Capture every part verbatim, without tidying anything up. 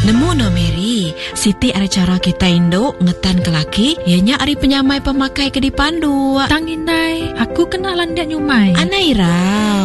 Nemu no Mary, siti ada cara kita induk ngetan ke laki, ianya ari penyamai pemakai ke dipandu. Tang indai, aku kena landak nyumai. Anaira,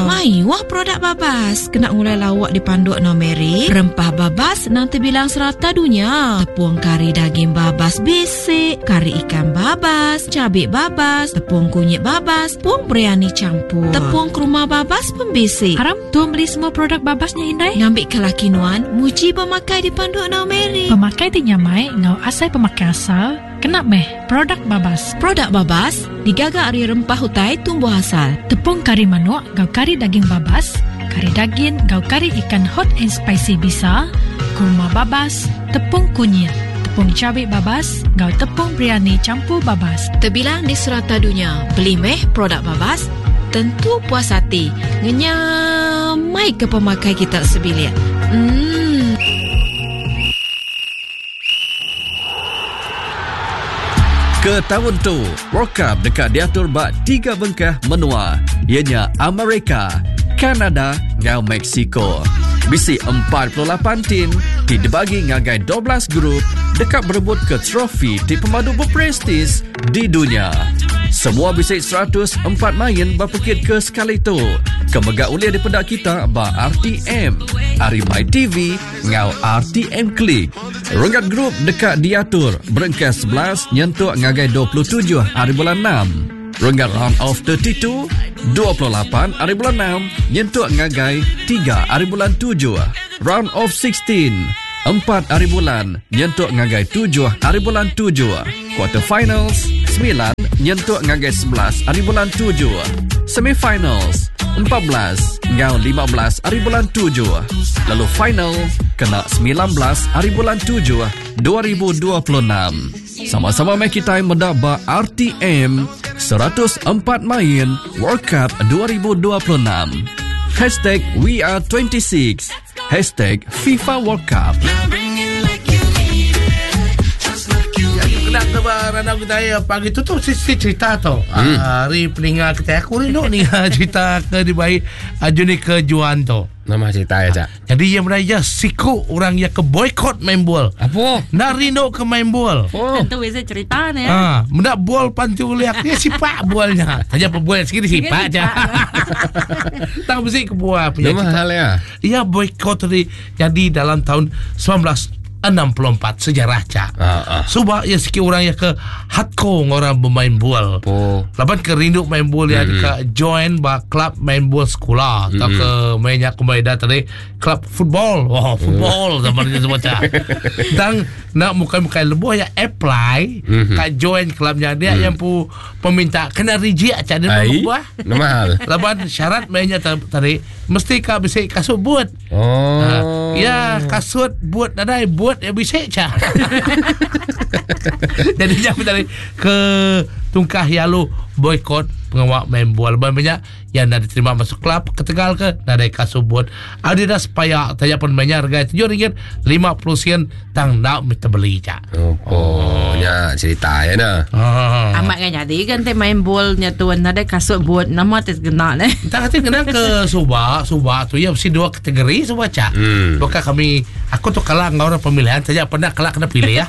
mayuh produk babas. Kena ngulai lawak dipanduk no Mary. Rempah babas nanti bilang serata dunia. Tepung kari daging babas bisik, kari ikan babas, cabai babas, tepung kunyit babas, tepung biryani campur, tepung kurma babas pembisik. Haram tu beli semua produk babasnya indai. Ngambil ke laki nuan, muji pemakai dipandu no Mary. Pemakai ti nyamai ngau asai pemakai asal, kena meh produk babas. Produk babas digaga ari rempah hutai tumbuh asal. Tepung kari manuk ngau kari daging babas, kari daging ngau kari ikan hot and spicy bisa, kurma babas, tepung kunyit, tepung cabai babas, ngau tepung biryani campur babas. Terbilang di serata dunia, beli meh produk babas, tentu puas hati. Ngenyamai ke pemakai kita sebilik. Hmm. Ke tahun tu, World Cup dekat diatur bak tiga bengkah menua, ianya Amerika, Kanada ngau Mexico. Bisi empat puluh lapan tim ti dibagi ngagai dua belas grup dekat berebut ke trofi ti pemadu berprestis di dunia. Semua bisi seratus empat main berpekit ke sekali tu. Kemegak ulia dipendak kita ba R T M, Ari My T V ngau R T M Click. Renggat grup dekat diatur berengkas sebelas nyentuk ngagai dua puluh tujuh hari bulan enam. Renggat round of thirty-two, dua puluh lapan hari bulan enam nyentuk ngagai tiga hari bulan tujuh. Round of sixteen, empat hari bulan nyentuk ngagai tujuh hari bulan tujuh. Quarter finals sembilan nyentuk ngagai sebelas hari bulan tujuh. Semifinals empat belas ngau lima belas hari bulan tujuh. Lalu final kena sembilan belas hari bulan tujuh dua ribu dua puluh enam. Sama-sama mai kita mendaba R T M seratus empat main World Cup dua ribu dua puluh enam. Hashtag We Are twenty-six. Hashtag FIFA World Cup. Kena ke barang kita ya pagi tu tu sisi cerita tu. Hmm. Hari peninga kita aku ni ni cerita ke dibai Juni ke Juan tu. Nama cerita ya, Cak. Jadi yang beraya siku orang yang ke boykot main bol. Apa? Nak rindu ke main bol. Oh. Tentu biasa cerita ni. Ha, mendak bol pantu liak dia sipak bolnya. Saja pebual sikit sipak je. Tak mesti ke buah punya. Nama hal ya. Ya boykot tadi jadi dalam tahun sembilan belas enam puluh empat sejarah cak. Ah, ah. Sebab ya sikit orang yang ke hardcore orang bermain bol. Oh. Laban ke rindu main bol ya mm-hmm. ke join ba club main bol sekolah atau mm-hmm. ke mainnya kembali dah tadi club football. Wah, oh, football mm. zaman itu semua cak. Dan nak muka-muka lebuh ya apply mm-hmm. ka join clubnya dia mm. yang pu peminta kena reject cak dia buah. Nama hal. Laban syarat mainnya tadi mesti ka bisa kasut buat. Oh. Ha, ya kasut buat nadai buat ya bisa cak. Jadi jangan tadi ke tungkah yalu boykot pengawak main bola banyak yang nak diterima masuk klub ke Tegal ke nadai kasut buat. Adidas payah tanya pun mainnya harga tujuh ringgit lima puluh sen tang nak minta beli cak. Oh, oh nya cerita ya nah. Ah. Amat kan jadi kan te main bolnya tuan nadai kasut buat nama te kena ne. Tak kata kena ke Subak, Subak tu ya mesti dua kategori Subak cak. Hmm. Bukan kami aku tu kalah dengan orang pemilihan saja pernah kalah kena pilih ya.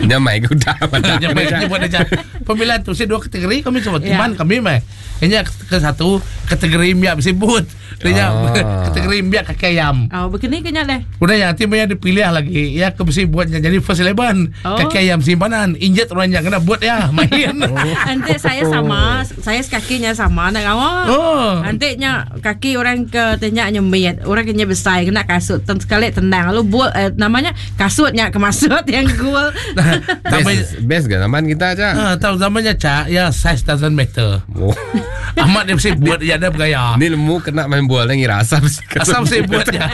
Nya mai ke udah Nya mai buat aja. Pemilihan tu mesti dua kategori kami semua Ya. teman kami mai. Hanya ke satu kategori miak mesti but. Dia Ah. kategori miak kaki ayam. Oh, begini kena leh. Udah yang nanti banyak dipilih lagi. Ya ke mesti buatnya jadi first eleven. Oh. Kaki ayam simpanan. Injet orang yang kena buat ya main. Nanti saya sama, saya kakinya sama nak awak. Oh. Nanti nya kaki orang ke tanya nyemit, orang kena besar kena kasut ten sekali tendang lalu buat eh, namanya kasutnya kemasut yang gol. Nah, Best, best kan zaman kita cak. Ha, tahu zamannya cak ya size doesn't matter. Oh. Ahmad dia mesti buat dia ada bergaya. Ni lemu kena main bola ngira asam. Asam mesti buat dia.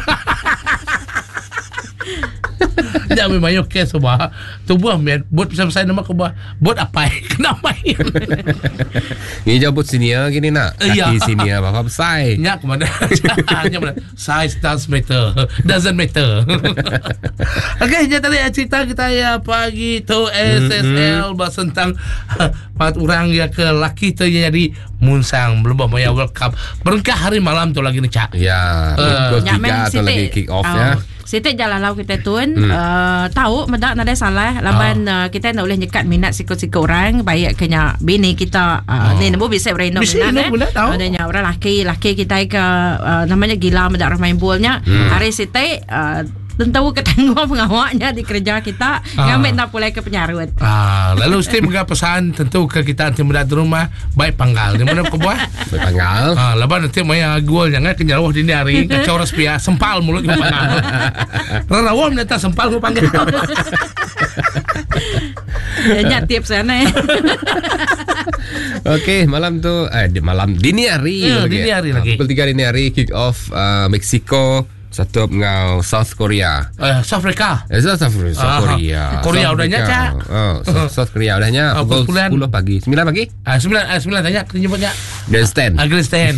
Jangan mayu kes sebab tubuh men buat besar-besar nama ke buat buat apa kena main. Ni jauh buat senior gini nak. Ya. Kaki senior bapa besar. Nyak ke mana? Nyak mana? Size does matter. Doesn't matter. Okey, jadi tadi cerita kita ya pagi tu S S L bahas tentang empat orang ya ke laki tu yang jadi munsang belum maya World Cup. Berengkah hari malam tu lagi ni cak. Ya, Eh. pukul Nyak tiga tu lagi kick off ya. Sitik jalan lau kita tun hmm. uh, tahu medak nadai salah laban uh, kita nak boleh nyekat minat sikut-sikut orang baik kenya bini kita uh, Oh. ni nemu bisa bereno Bisa minat reno minat, tahu. Ada nya orang laki laki kita ke uh, namanya gila medak orang main bolnya hmm. Hari sitik uh, tentu ketangguh pengawaknya di kerja kita Ah. ngambil nak pulai ke penyarut. Ah, lalu mesti menga pesan tentu ke kita nanti mendak di rumah baik panggal. Di mana kau buat? Baik panggal. Ah, laban nanti maya gol jangan kenyalawah dini hari kacau orang sepia sempal mulut ke panggal. Rarawam nanti sempal ke panggal. Nya tips sana. Okey, malam tu eh di- malam dini hari Ya, lagi. dini hari Ah, lagi. Pukul tiga dini hari kick off uh, Mexico satu dengan South Korea. Eh, South Africa. Eh, South, South, South Ah, Korea. Korea South udahnya, Africa. Cak. Oh, South, South Korea udahnya Ah, pukul pukul sepuluh pagi. sembilan pagi? Ah, sembilan, ah, sembilan tanya kena jemputnya. Grandstand. Ah, Grandstand.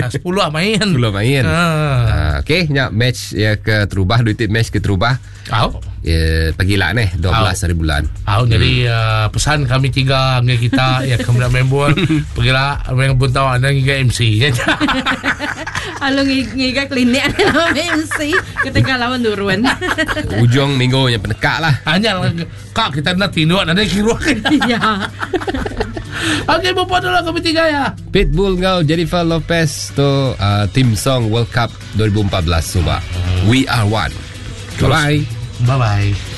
Ah, sepuluh ah, main. sepuluh main. Ah. Ah, okey, nyak match ya ke terubah duit match ke terubah. Au. Ya, pagi lah ni dua belas hari bulan. Au, jadi uh, pesan kami tiga dengan kita ya kemudian main bola pergilah main buntau anda hingga M C. Lalu ngiga klinik ada M C ketika lawan turun. Ujung minggu yang penekak lah. Hanya lah, kak kita nak tidur ada kira. Ya. Okey, berbual dulu kami tiga ya. Pitbull ngau Jennifer Lopez tu uh, team song World Cup dua ribu empat belas cuba. We are one. Bye bye. Bye bye.